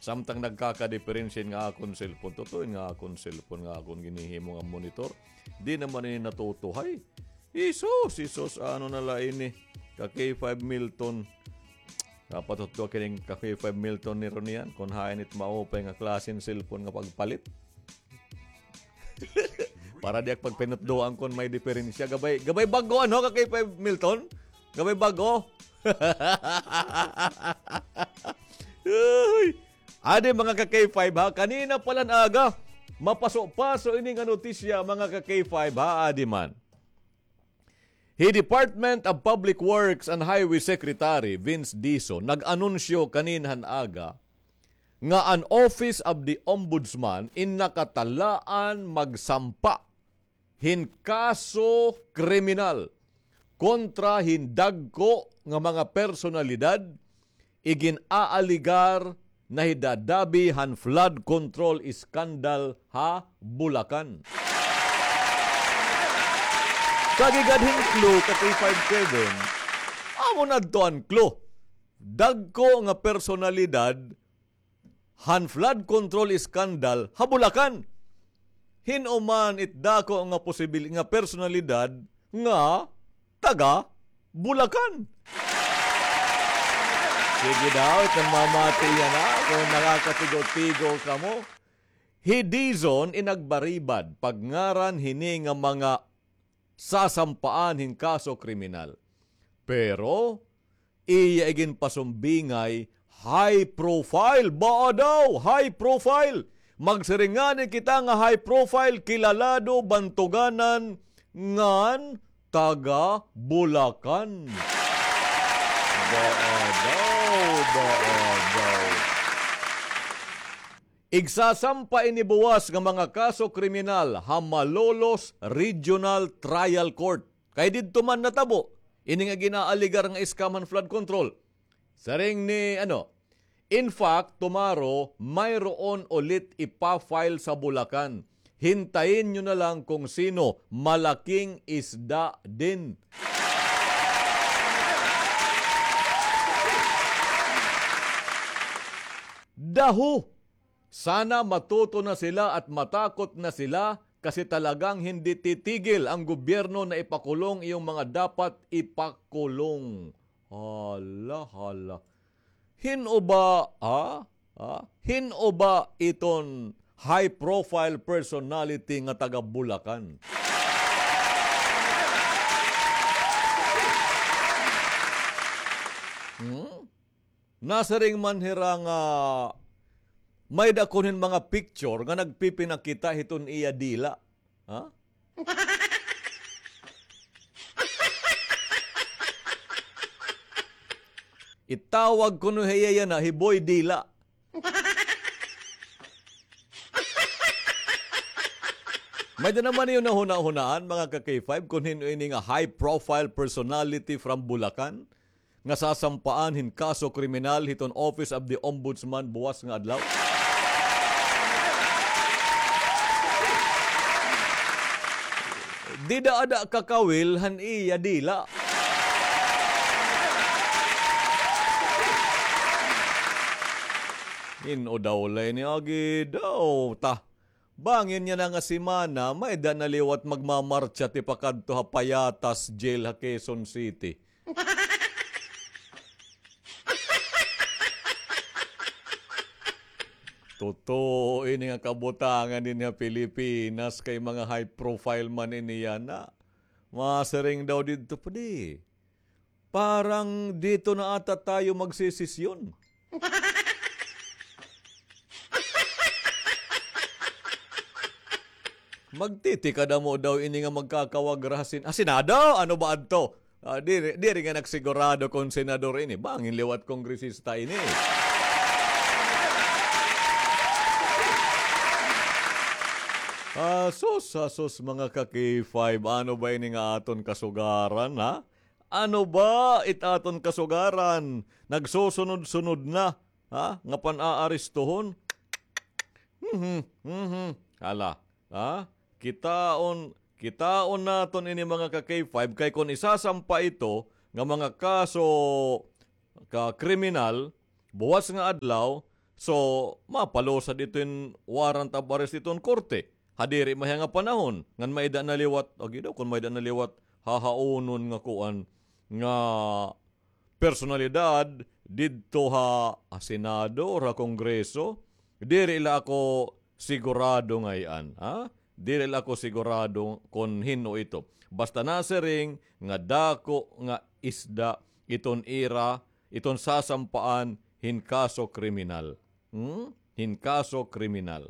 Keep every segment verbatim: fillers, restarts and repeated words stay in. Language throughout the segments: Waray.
Samtang nagkakadiperensya nga akon cellphone, totoo nga akon cellphone nga akon ginhihimo nga monitor. Di naman ini natutuhay. Jesus, Jesus, ano na la ini? Ka K five Milton. Kapatutwa kining ka K five Milton ni Ronian, kung hain it maupay nga klase hin cellphone nga pagpalit. Para di ak pagpinutdoan kon may diperensya. Gabay, gabay bag-o, ano, ka K five Milton? Gabay bag-o. Uy! Adi, mga ka K five, ha? Kanina pa la han aga, mapaso-paso ini nga notisya, mga ka K five, ha? Adi man. Hi Department of Public Works and Highway Secretary Vince Dizon nag-anunsyo kanina han aga nga an Office of the Ombudsman in nakatalaan magsampa hin kaso kriminal kontra hin dagko nga mga personalidad igin-aaligar nahidadabi han flood control scandal ha Bulacan. Sa gigad hin clue ka K five Kevin, amo na adto an clue. Dagko nga personalidad han flood control scandal ha Bulacan. Hin-o man it dako nga posibil-, nga personalidad nga taga Bulacan. Sige daw, it namamati yana, kon nakakatigo-tigo kamo. Hi Dizon in nagbaribad pagngaran hini nga mga sasampaan hin kaso kriminal. Pero, iya iginpasumbingay high profile. Baa daw, high profile. Magsiring ngani kita nga high profile, kilalado, bantuganan, ngan taga Bulacan. Baa daw, baa daw. Igsasampa ini buwas nga mga kaso kriminal ha Malolos Regional Trial Court. Kay didto man natabo ini nga gin-aaligar nga scam han flood control. Siring ni, ano, in fact, tomorrow, mayroon ulit ipa-file sa Bulacan. Hintayin niyo na lang kung sino, malaking isda din. Daho! Sana matuto na sila at matakot na sila kasi talagang hindi titigil ang gobyerno na ipakulong iyong mga dapat ipakulong. Hala, hala. Hin-o ba, ha? Ha? Hin-o ba iton high profile personality nga taga Bulacan? Hmm? Nasiring man hira nga may-ada kuno hin mga picture nga nagpipinakita hiton iya dila. Ha? Itawag kuno hiya yana hi Boy Dila. May-ada naman niyo nahunahunaan, mga ka-K five, kun hin-o ini nga high profile personality from Bulacan nga sasampaan hin kaso kriminal hiton Office of the Ombudsman buwas nga adlaw? Dida ada kakawil han iya dila. Hin-o daw la ini agi daw ta. Bangin yana nga semana, may-ada na liwat magmamartsa tipakadto ha Payatas Jail ha Quezon City. Totoo ini nga kabutangan dinhi ha Pilipinas, kay mga high profile man ini yana. Masiring daw didto, pwede. Parang dito na ata tayo magsesesyon. Magtitikadamo daw ini nga magkakawagra ha Sen-, ah, Senado? Ano ba adto? Ah, diri, diri nga nagsigurado kon senador ini. Bangin liwat kongresista ini. Ah, sus, ah, sus, mga ka-K five, ano ba ini nga aton kasugaran, ha? Ano ba it aton kasugaran? Nagsusunod-sunod na, ha? Nga pan-aarestuhon? Mhm, mhm. Hala, ha? Kitaon, kitaon naton ini, mga ka-K five, kay kon isasampa ito nga mga kaso ka kriminal, Buwas nga adlaw, so, mapalusad iton warrant of arrest iton korte. Ha diri mahiya nga panahon, ngan may-ada na liwat, agi daw, kon may-ada na liwat, hahaunon nga kuan, nga personalidad didto ha, ha Senado or ha Kongreso, diri la ako sigurado ngay-an, ha? Diri la ako sigurado kon hin-o ito. Basta nasiring nga dako nga isda iton ira, iton sasampaan hin kaso kriminal. Hmm? Hin kaso kriminal.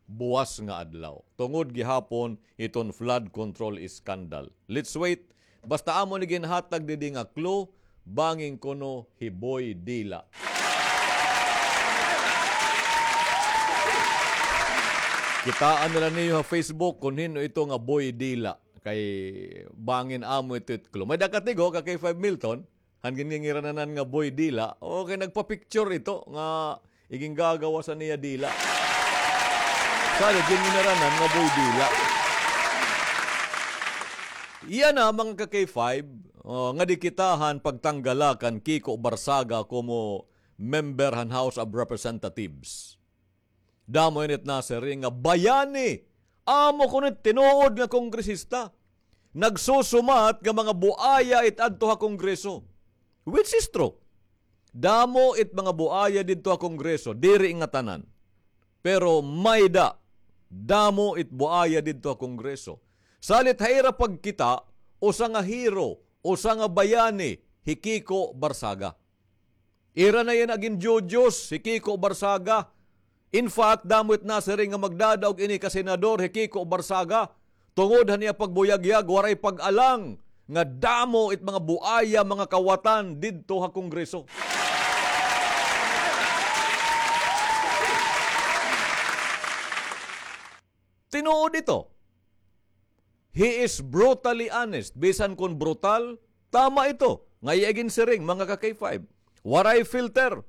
Buwas nga adlaw. Tungod gihapon iton flood control scandal. Let's wait. Basta amo ni ginhatag didi nga clue, bangin kuno hi Boy Dila. Kitaa na la niyo ha Facebook kon hin-o ito nga Boy Dila. Kay bangin amo ito it clue. May-ada ka tigo, ka K five Milton? Han ginngirananan nga Boy Dila. Okay, nagpa-picture ito nga iginggagawas an iya dila. Sa ginngirananan nga Boy Dila. Yana, mga ka K five, oh, nga di kita han pagtanggala kan Kiko Barsaga komo member han House of Representatives. Damo ini it nasiring nga bayani. Amo kuno it tinuod nga kongresista. Nagsusumat nga mga buaya it adto ha Kongreso. Which is true. Damo it mga buaya didto ha Kongreso, diri ngatanan. Pero may-ada, damo it buaya didto ha Kongreso. Salit ha ira pagkita, usa nga hero, usa nga bayani, hi Kiko Barsaga. Ira na yana ginjujos hi Kiko Barsaga. In fact, damo it nasiring nga magdadaog ini ka senador hi Kiko Barsaga. Tungod han iya pagbuyagyag, waray pag-alang nga damo it mga buaya, mga kawatan didto ha Kongreso. Tinuod ito. He is brutally honest. Bisan kon brutal, tama ito nga iya ginsiring, mga ka K five. Waray filter.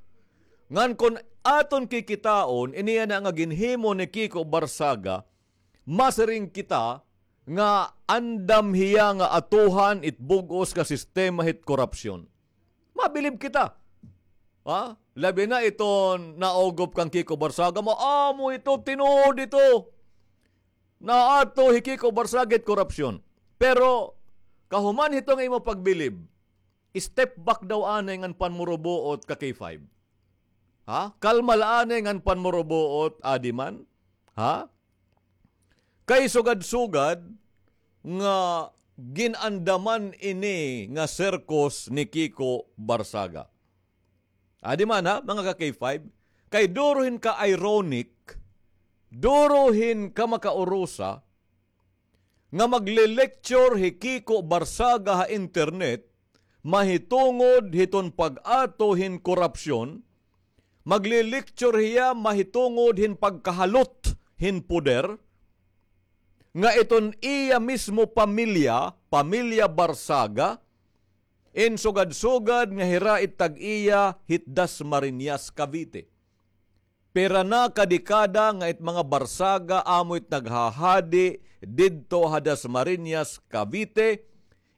Ngan kon aton kikitaon, ini yana nga ginhimo ni Kiko Barsaga, masiring kita nga andam hiya nga atuhan it bug-os nga sistema hit korapsyon. Mabilib kita. Ha? Labi na iton naugop kan Kiko Barsaga, maamo ito, tinuod ito. Naato hi Kiko Barsaga it korapsyon. Pero, kahuman hito nga imo pagbilib, step back daw anay ngan panmurubuot ka K five. Ha? Kalma la anay ngan panmurubuot, adi man. Ha? Kay sugad-sugad nga gin-andaman ini nga sirkus ni Kiko Barsaga. Adi man, ha, mga ka K five, kay duro hin ka-ironic, duro hin kamakaurusa, nga magle-lecture hi Kiko Barsaga ha internet mahitungod hiton pag-ato hin korapsyon, magle-lecture hiya mahitungod hin pagkahalot hin poder, nga iton iya mismo pamilya, pamilya Barsaga, in sugad-sugad nga hira it tag-iya hit Dasmariñas, Cavite. Pira na ka dekada nga it mga Barsaga amo it naghahadi didto ha Dasmariñas, Cavite,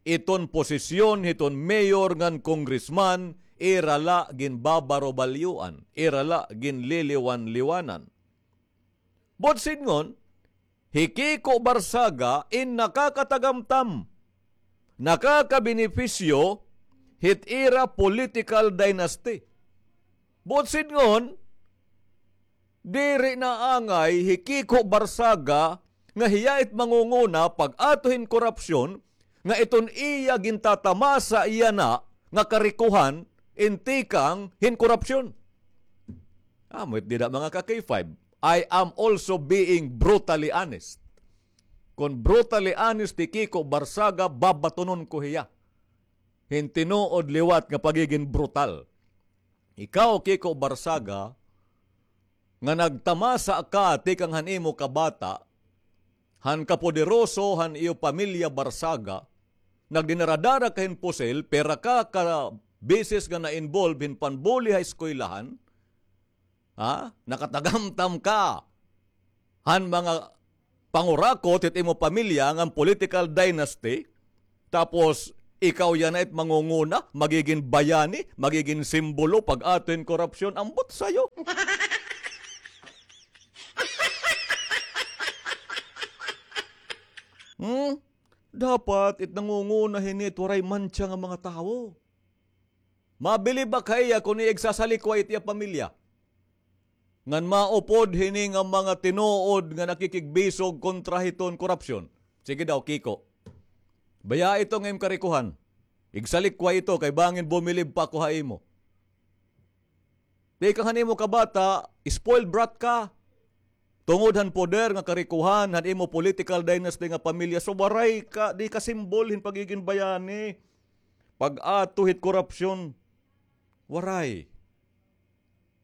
iton posisyon hiton mayor ngan congressman, ira la ginbabarubalyoan, ira la ginliliwan-liwanan. Buot sidngon, hi Kiko Barsaga in nakakatagamtam, nakakabenepisyo hit ira political dynasty. Buot sidngon, diri na angay hi Kiko Barsaga nga hiya it mangunguna pag-ato hin korapsyon, nga iton iya gintatamasa yana nga karikohan in tikang hin korapsyon. Amo it dida, mga ka K five. I am also being brutally honest. Kon brutally honest hi Kiko Barsaga, babatonon ko hiya hin tinuod liwat nga pagigin brutal. Ikaw, Kiko Barsaga, nga nagtamasa ka tikang han imo kabata, han kapoderoso han iyo pamilya Barsaga, nagdinara-dara ka hin pusil, pira ka ka beses nga na-involve hin panbuli ha eskwelahan, ha? Nakatagamtam ka han mga pangurakot hit imo pamilya ngan political dynasty, tapos Ikaw yana it mangunguna, magigin bayani, magigin simbolo pag-ato hin korupsyon. Ambot sayo. Hmm? Dapat it nangunguna hini it waray mantsa nga mga tawo. Mabilib ak ha iya kon iya igsasalikway it iya pamilya. Ngan maupod hini nga mga tinuod nga nakikigbisog kontra hiton korupsyon. Sige daw, Kiko. Baya ito nga im karikohan. Igsalikway ito kay bangin bumilib pa ako ha imo. Tikang han imo kabata, spoiled brat ka. Tungod han poder nga karikohan han imo political dynasty nga pamilya, so waray ka, di ka simbol hin pagigin bayani. Pag-ato hit korupsyon. Waray.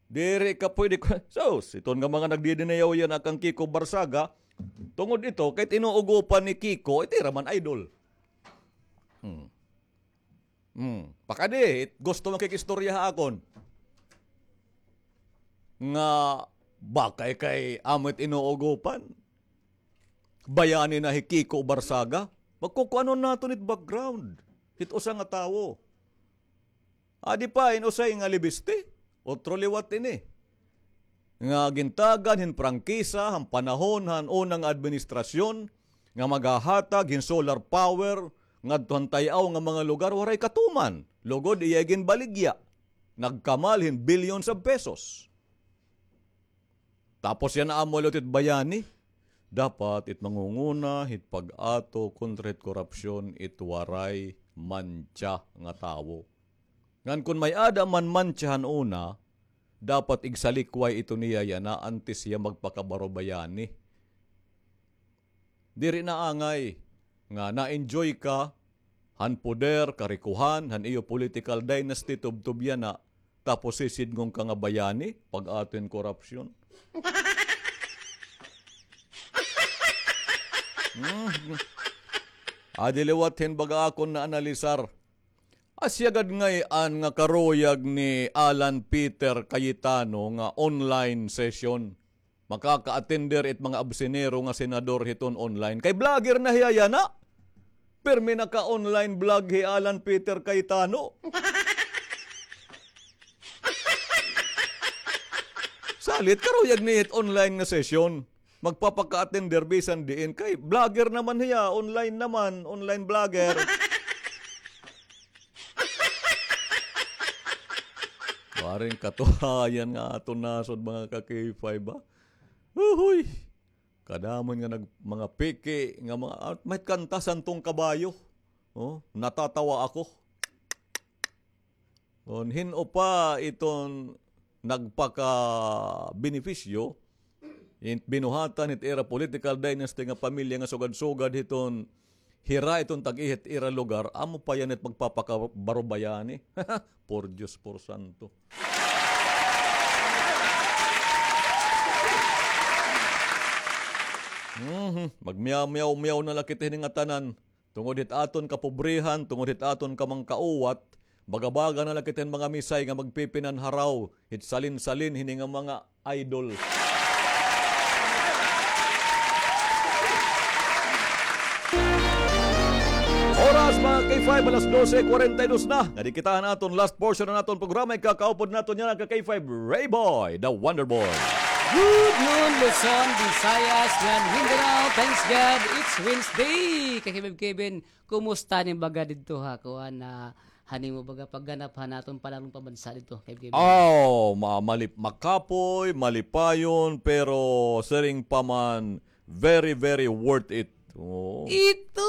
Diri ka pwede ko, sus, iton nga mga nagdidinayaw yana kang Kiko Barsaga, tungod ito, kay tinuugopan ni Kiko, iti ra man idol. Hmm. Hmm. Pakadi, it-, gusto makikistorya ha akon. Nga, bakay kay amo it inuugopan. Bayani na hi Kiko Barsaga. Magkukuanon naton it background. Hit usa nga tawo. Adi pa, in usay nga libiste, otro liwat ini. Nga gintagan hin prangkisa, han panahon, han una nga administrasyon, nga maghahatag hin solar power, ngadto han tay-aw nga mga lugar, waray katuman. Lugod iya ginbaligya. Nagkamal hin billions of pesos. Tapos yana amo liwat it bayani. Dapat it mangunguna, hit pag-ato, kontra hit korupsyon, it waray mantsa nga tawo. Ngan kon may-ada man mantsa han una, dapat igsalikway ito niya yana antes hiya magpakabarubayani. Diri na angay nga na-enjoy ka han poder, karikohan, han iyo political dynasty, tubtob yana, tapos sisidngon ka nga bayani, pag-ato hin korupsyon. Hmm. Adi liwat hin baga akon naanalisar. Asya gad ngay-an nga karuyag ni Alan Peter Cayetano nga online session. Makaka-attender it mga absinero nga senador hiton online. Kay vlogger na hiya yana. Pirmi naka-online vlog hi Alan Peter Cayetano. Salit, karuyag niya it online nga session. Magpapaka-attender bisan diin. Kay vlogger naman hiya, online naman, online vlogger. Waring katuhayan nga aton nasod, mga ka-K five, ba? Uhoy! Kadamo nga nag-, mga peke nga mga, ah, may kanta, Santong Kabayo. Oh, natatawa ako. Kon hin-o pa iton nagpakabenepisyo, in-, binuhatan hit ira political dynasty nga pamilya nga sugad-sugad hiton hira iton tag-ihit ira lugar, amo pa yana it magpapakabarubayani. Por Diyos, por santo. Mhm. Magmiyaw-miyaw-miyaw na la kita hini ngatanan. Tungod hit aton kapobrehan, tungod hit aton kamangkauwat, baga-baga na la kita hin mga misay nga magpipinanharaw hit salin-salin hini nga mga idol. Oras, mga K five, alas dose kwarenta y dos na. Nga di kita han aton last portion han aton programa, ikakaupod naton yana ka K five, Rayboy, the Wonder Boy. Good noon, Luzon, Visayas, ngan Mindanao. Thanks God, it's Wednesday. Ka K five Kevin, kumusta nim baga didto ha kuan, ah, han imo baga pagganap han aton panalong pambansa didto, K five Kevin? Oh, ma-, malip-, makapoy, malipayon, pero siring pa man, very, very worth it. Oo. Ito!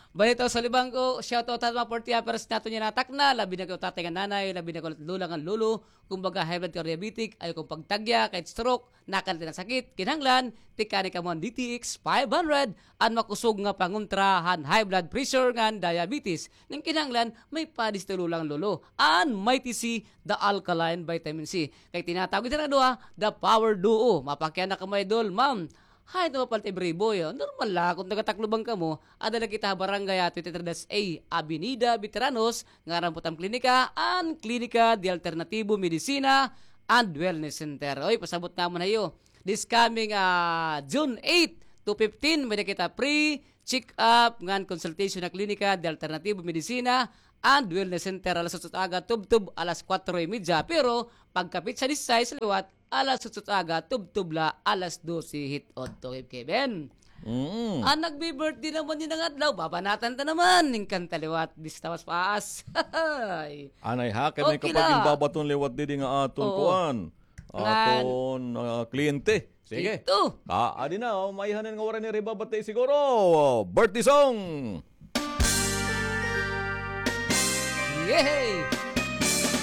Balitaw sa libang ko, shout out ha mga forty uppers naton yana ha Tacna, labi na kay tatay ngan nanay, labi na kay lola ngan lolo, kumbaga high blood ka diabetic, ayaw kamo pagtagya, kay stroke, nakanti na sakit, kinahanglan, tikani kamo an D T X five hundred, an makusog nga pangontra han high blood pressure ngan diabetes. Ngan kinahanglan, may padis to lola ngan lolo, an Mighty C, the alkaline vitamin C. Kay tinatawag ito nga duha, the power duo. Mapakiana kamo, idol, ma'am. Hay, ito mapalit ibriboy, oh. Normal la, kon taga-Tacloban kamo, ada la kita ha barangay, ah, twenty-three dash A, Avenida Veteranos, ngaran pu't am klinika, an Klinika de Alternativo Medicina and Wellness Center. Oy, pasabot namon ha iyo. This coming, ah, June eight to fifteen, may-ada kita free check-up, ngan consultation ha klinika de alternatibo medisina and wellness center alas otso aga tubtob alas kuwatro y medya. Pero pagkapitsa disisais liwat, alas otso aga tubtob la alas dose hit-odto, Kevin. Mm. An nagbi-birthday naman ini nga adlaw, babanatan ta naman hin kanta liwat, bista mas paas. Anay ha, kay may kapag babaton liwat didi nga aton kuan. Aton, ah, kliyente. Sige. Ito. Ah, adi na, oh, maihanan nga waray ni ribabati siguro. Birthday song. Yehey!